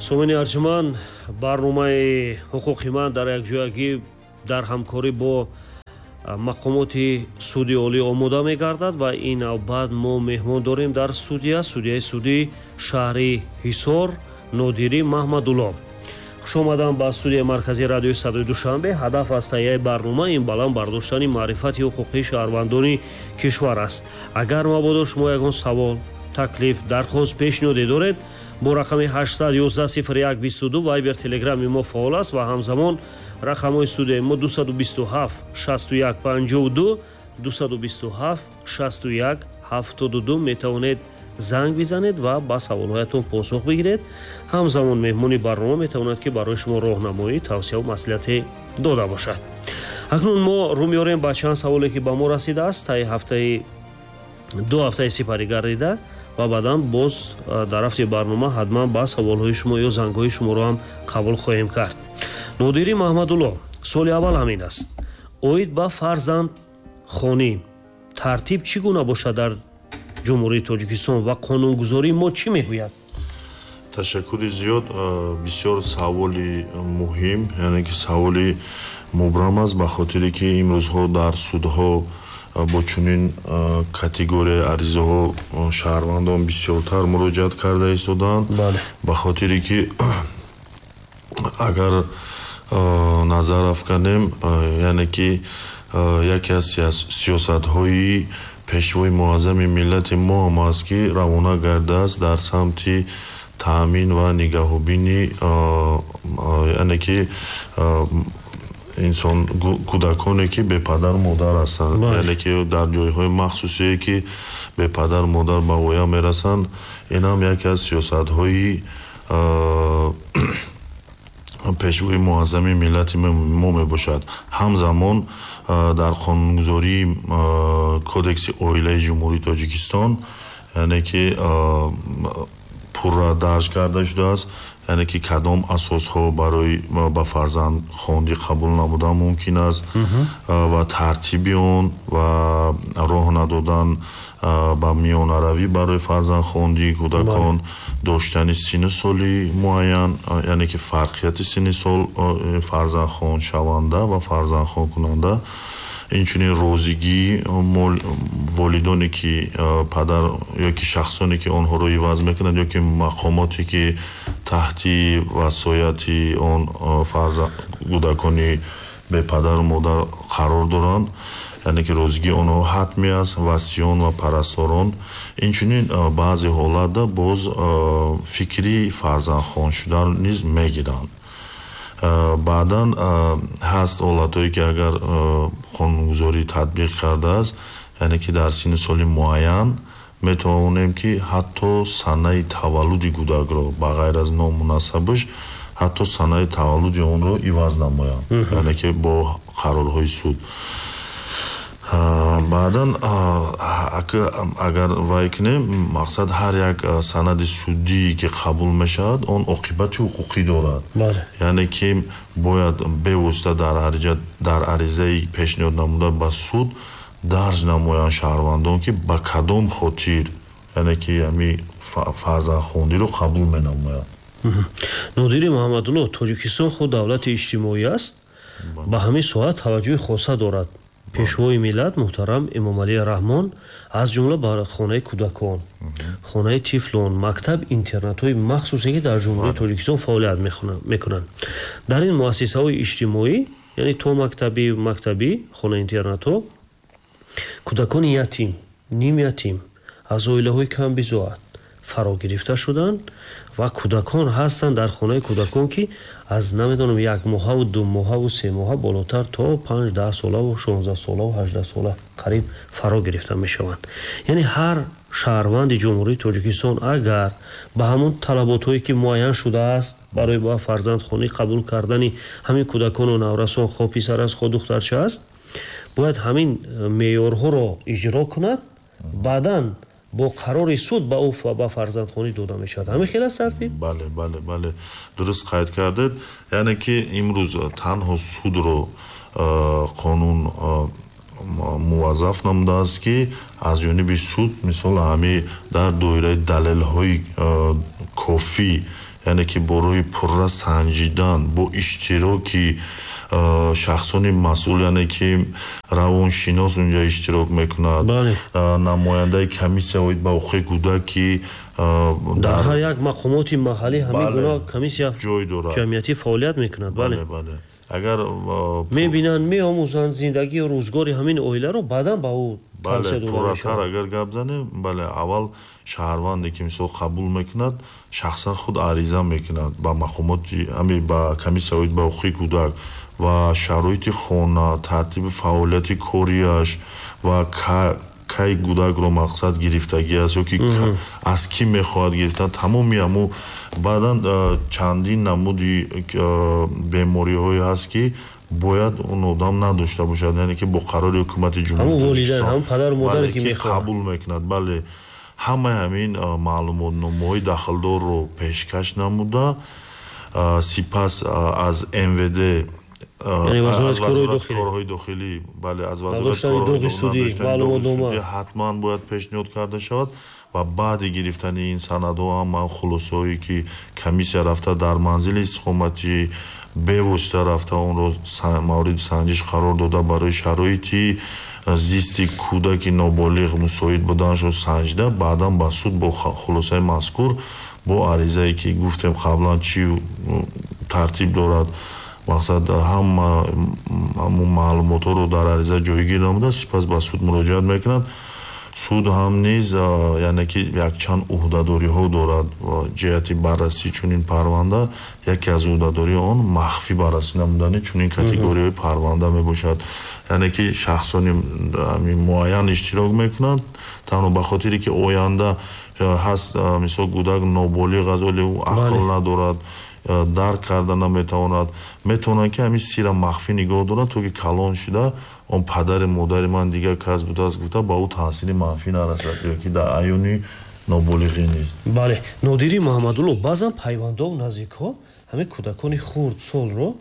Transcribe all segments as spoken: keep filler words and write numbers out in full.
Сомини арҷуманд, барномаи ҳуқуқи ман дар якҷоягӣ дар ҳамкорӣ бо мақомоти суди олӣ омода мегардад ва ин навбат мо меҳмон дорем дар студия, судияи суди шаҳри Ҳисор Нодирӣ Маҳмадулло. Хуш омадам ба студияи марказии радиои Садои Душанбе. Ҳадаф аз таҳияи барнома ин баланд бардоштани маърифати ҳуқуқии шаҳрвандони кишвар аст. Агар мабодо шумо ягон савол, таклиф, дархост, пешниҳоде доред, бо рақами ҳаштсад ёздаҳ сифр як бисту ду Вайбер, Телеграми мо фаъол аст ва ҳамзамон рақамҳои студияи мо дусаду бисту ҳафт шасту як панҷоҳу ду, дусаду бисту ҳафт шасту як ҳафтоду ду метавонед занг бизанед ва ба саволҳоятон посух бигиред. Ҳамзамон меҳмони барнома метавонад, ки барои шумо роҳнамоӣ, тавсияву маслиҳате дода бошад. Акнун мо рӯ меорем ба чанд саволе, ки ба мо расидааст таи ҳафтаи ду ҳафтаи сипарӣ гардида ва баъдан боз дар рафти барнома ҳатман ба саволҳои шумо ё зангҳои шуморо ҳам қабул хоҳем кард. Нодирӣ Маҳмадулло, суоли аввал ҳамин аст: оид ба фарзандхонӣ тартиб чӣ гуна бошад дар Ҷумҳурии Тоҷикистон ва қонунгузории мо чӣ мегӯяд? Ташаккури зиёд. Бисёр саволи муҳим, яъне ки саволи мубрам аст, ба хотире ки имрӯзҳо дар судҳо бо чунин категорияи аризаҳо шаҳрвандон бисёртар муроҷиат карда истодаанд. Ба хотире ки агар назар афканем, яъне ки яке аз сиёсатҳои пешвои муаззами миллати мо ҳам аст, ки равона гардааст дар самти таъмин ва нигаҳубини, яъне ки инсон кӯдаконе, ки бепадару модар ҳастанд, яъне ки дар ҷойҳои махсусе, ки бепадару модар ба воя мерасанд. Ин ҳам яке аз сиёсатҳои пешвои муаззами миллати мо мебошад. Ҳамзамон дар қонунгузории Кодекси оилаи Ҷумҳурии Тоҷикистон, яъне ки пурра дарҷ карда шудааст, яъне ки кадом асосҳо барои ба фарзандхондӣ қабул намудан мумкин аст ва тартиби он ва роҳ надодан ба миёнаравӣ барои фарзандхондии кӯдакон, доштани синну соли муайян, яъне ки фарқияти синни сол фарзандхоншаванда ва фарзандхонкунанда, инчунин розигии волидоне, ки падар ё ки шахсоне, ки онҳоро иваз мекунанд, ё ки мақомоте, ки таҳти васояти он кӯдакони бепадару модар қарор доранд, яъне ки розигии онҳо ҳатмӣ аст, васиён ва парасторон. Инчунин баъзе ҳолатда боз фикри фарзандхон шудан низ мегиранд. Баъдан ҳаст ҳолатҳое, ки агар қонунгузорӣ татбиқ кардааст, яъне ки дар синни соли муайян метавонем, ки ҳатто санаи таваллуди кӯдакро ба ғайр аз ному насабаш ҳатто санаи таваллуди онро иваз намоянд, яъне ки бо қарорҳои суд. Баъдан агар вай кунем, мақсад ҳар як санади судие, ки қабул мешавад, он оқибати ҳуқуқӣ дорад, яъне ки бояд бевосита дар аризаи пешниҳод намуда ба суд дарҷ намоянд шаҳрвандон, ки ба кадом хотир, яъне ки ҳамин фарзандхондиро қабул менамоянд. Нодири Муҳаммадулло, Тоҷикистон худ давлати иҷтимоӣ аст, ба ҳамин соҳа таваҷҷӯҳи хоса дорад. Пешвои миллат муҳтарам Эмомалӣ Раҳмон аз ҷумла ба хонаи кӯдакон, хонаи тифлон, мактаб, интернатҳои махсусе, ки дар Ҷумҳурии Тоҷикистон фаъолият мекунанд. Дар ин муассисаҳои иҷтимоӣ, яъне то мактабӣ, мактабӣ, хонаи интернатҳо, кӯдакони ятим, нимятим, аз оилаҳои камбизоат фаро гирифта шуданд ва кӯдакон ҳастанд дар хонаи кӯдакон, ки аз намедонам як моҳаву ду моҳаву се моҳа болотар то панҷ даҳ солаву шонздаҳ солаву ҳаждаҳ сола қариб фаро гирифта мешаванд. Яъне ҳар шаҳрванди Ҷумҳурии Тоҷикистон агар ба ҳамон талаботҳое, ки муайян шудааст барои ба фарзандхонӣ қабул кардани ҳамин кӯдакону наврасон, хо писар аст, хо духтарча аст, бояд ҳамин меъёрҳоро иҷро кунад, баъдан бо қарори суд ба ӯ ба фарзандхонӣ дода мешавад. Ҳамин хел аст тартиб? Бале, бале, бале, дуруст қайд кардед. Яъне ки имрӯз танҳо судро қонун муваззаф намудааст, ки аз ҷониби суд мисол ҳамин дар доираи далелҳои кофӣ, Яъне ки бо роҳи пурра санҷидан, бо иштироки шахсони масъул, яъне ки равоншинос унҷа иштирок мекунад, намояндаи комиссия оид ба ҳуқуқи кӯдак, ки дар ҳар як мақомоти маҳаллӣ ҳамин гуна комиссия ҷой дорад, ҷамъиятӣ фаъолият мекунад. Бале, бале. Агар мебинанд, меомӯзанд зиндагию рӯзгори ҳамин оиларо, баъдан ба ӯ бале, пурратар агар гап занем, бале, аввал шаҳрванде ки мисол қабул мекунад, шахсан худ ариза мекунад ба мақомоти ҳами ба комиссия оид ба ҳуқуқи кӯдак ва шароити хона, тартиби фаъолияти кориаш ва кай кӯдакро мақсад гирифтагӣ аст ё ки аз кӣ мехоҳад гирифтан, тамоми ҳаму. Баъдан чандин намуди бемориҳое ҳаст, ки бояд он одам надошта бошад, яъне ки бо қарори ҳукумати ҷумҳурии Тоҷикистон падару модаре ки қабул мекунад, бале, ҳамаи ҳамин маълумотномаҳои дахлдорро пешкаш намуда, сипас аз М В Д, аз вазорати корҳои дохилӣ, бале, аз вазорати корҳои дохилӣ ҳатман бояд пешниҳод карда шавад ва баъди гирифтани ин санадҳо ҳама хулосаҳое ки комиссия рафта дар манзили истиқоматӣ бевосита рафта онро мавриди санҷиш қарор дода, барои шароити зисти кӯдаки ноболиғ мусоид буданашро санҷида, баъдан ба суд бо хулосаи мазкур, бо аризае ки гуфтем қаблан чӣ тартиб дорад, мақсад ҳама ҳамун маълумотҳоро дар ариза ҷойгир намуда, сипас ба суд муроҷиат мекунад. Суд ҳам низ яъне ки якчанд ӯҳдадориҳо дорад ҷиҳати баррасии чунин парванда. Яке аз ӯҳдадории он махфӣ баррасӣ намудани чунин категориҳои парванда мебошад, яъне ки шахсони муайян иштирок мекунанд танҳо ба хотире ки оянда ҳаст, мисол кӯдак ноболиғ аст, вале ӯ ақл надорад, дарк карда наметавонад, метавонанд ки ҳамин сирра махфӣ нигоҳ доранд то ки калон шуда он падари модари ман дигар кас будааст гуфта ба ӯ таъсири манфӣ нарасад ё ки дар аёни ноболиғӣ низ. Бале, Нодири Муҳаммадулло, баъзан пайвандову наздикҳо ҳамин кӯдакони хурдсолро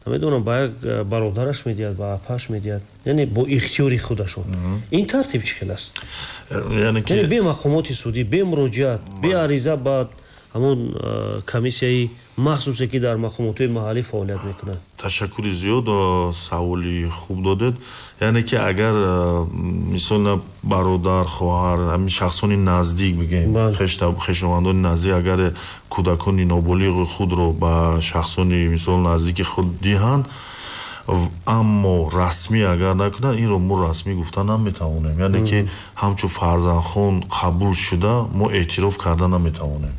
намедонам ба як бародараш медиҳад, ба апаш медиҳад, яъне бо ихтиёри худашон. Ин тартиб чӣ хел аст? Яъне бе мақомоти судӣ, бе муроҷиат, бе ариза ба ҳамон комиссияи махсусе ки дар мақомотҳои маҳаллӣ фаъолият мекунанд. Ташаккури зиёд, саволи хуб додед. Яъне ки агар мисол бародар, хоҳар, ҳамин шахсони наздик бигем, хешовандони наздик агар кӯдакони ноболиғи худро ба шахсони мисол наздики худ диҳанд, аммо расмӣ агар накунанд, инро мо расмӣ гуфта наметавонем. Яъне ки ҳамчун фарзандхон қабул шуда мо эътироф карда наметавонем.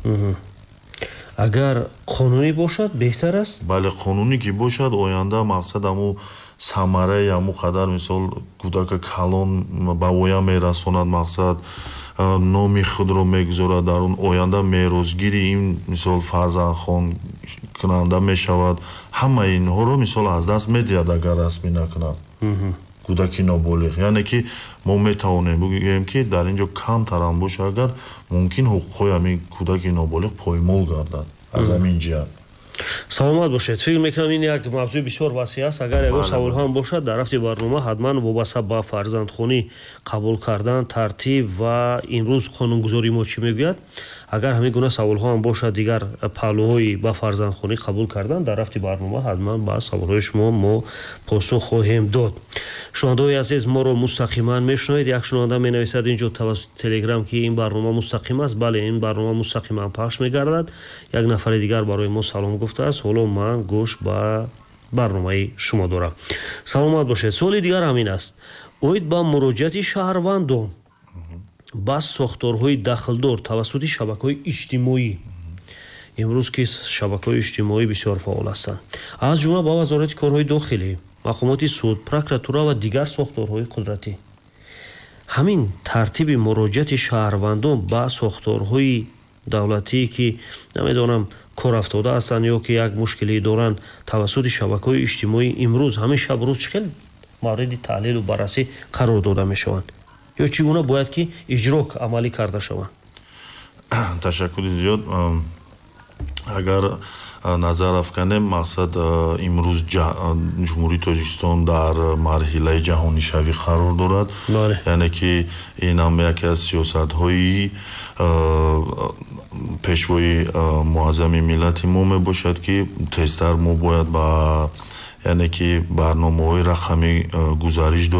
Агар қонунӣ бошад беҳтар аст? Бале, қонунӣ ки бошад, оянда мақсад ҳаму самараи ҳаму қадар мисол кӯдака калон ба воя мерасонад, мақсад номи худро мегузорад, дар он оянда меросгири ин мисол фарзандхон кунанда мешавад. Ҳамаи инҳоро мисол аз даст медиҳад агар расмӣ накунад кӯдаки ноболиғ. Яъне ки мо метавонем бигӯем ки дар ин ҷо камтарам бошад, агар мумкин ҳуқуқҳои ҳамин кӯдаки ноболиғ поймол гардад аз ҳамин ҷиҳат. Саломат бошед. Фикр мекунам ин як мавзӯи бисёр васеъ аст. Агар ягон саволҳо ҳам бошад дар рафти барнома ҳатман вобаста ба фарзандхонӣ қабул кардан, тартиб ва имрӯз қонунгузории мо чӣ мегӯяд, агар ҳамин гуна саволҳо ҳам бошад, дигар паҳлӯҳои ба фарзандхонӣ қабул кардан дар рафти барнома ҳатман ба саволҳои шумо мо посух хоҳем дод. Шунавандаҳои азиз, моро мустақиман мешунавед. Як шунаванда менависад инҷо тавассути Телеграм ки ин барнома мустақим аст. Бале, ин барнома мустақиман пахш мегардад. Як нафари дигар барои мо салом гуфтааст. Ҳоло ман гӯш ба барномаи шумо дорам. Саломат бошед. Суоли дигар ҳамин аст. Оид ба муроҷиати шаҳрвандон ба сохторҳои дахлдор тавассути шабакаҳои иҷтимоӣ. Имрӯз ки шабакаҳои иҷтимоӣ бисёр фаъол ҳастанд, аз ҷумла ба вазорати корҳои дохилӣ, мақомоти суд, прокуратура ва дигар сохторҳои қудратӣ. Ҳамин тартиби муроҷиати шаҳрвандон ба сохторҳои давлатӣ ки намедонам кор афтода ҳастанд ё ки як мушкилӣ доранд тавассути шабакаҳои иҷтимоӣ имрӯз ҳамин шаб рӯз чӣ хел мавриди таҳлилу баррасӣ қарор дода мешаванд ё чӣ гуна бояд ки иҷро амалӣ карда шаванд? Ташаккури зиёд. Агар Назар афканем, мақсад, имрӯз Ҷумҳурии Тоҷикистон дар марҳилаи ҷаҳонишавӣ қарор дорад, яъне ки ин ҳам яке аз сиёсатҳои Пешвои Муаззами миллати мо мебошад, ки тезтар мо бояд ба, яъне ки, барномаҳои рақамӣ гузариш дорем.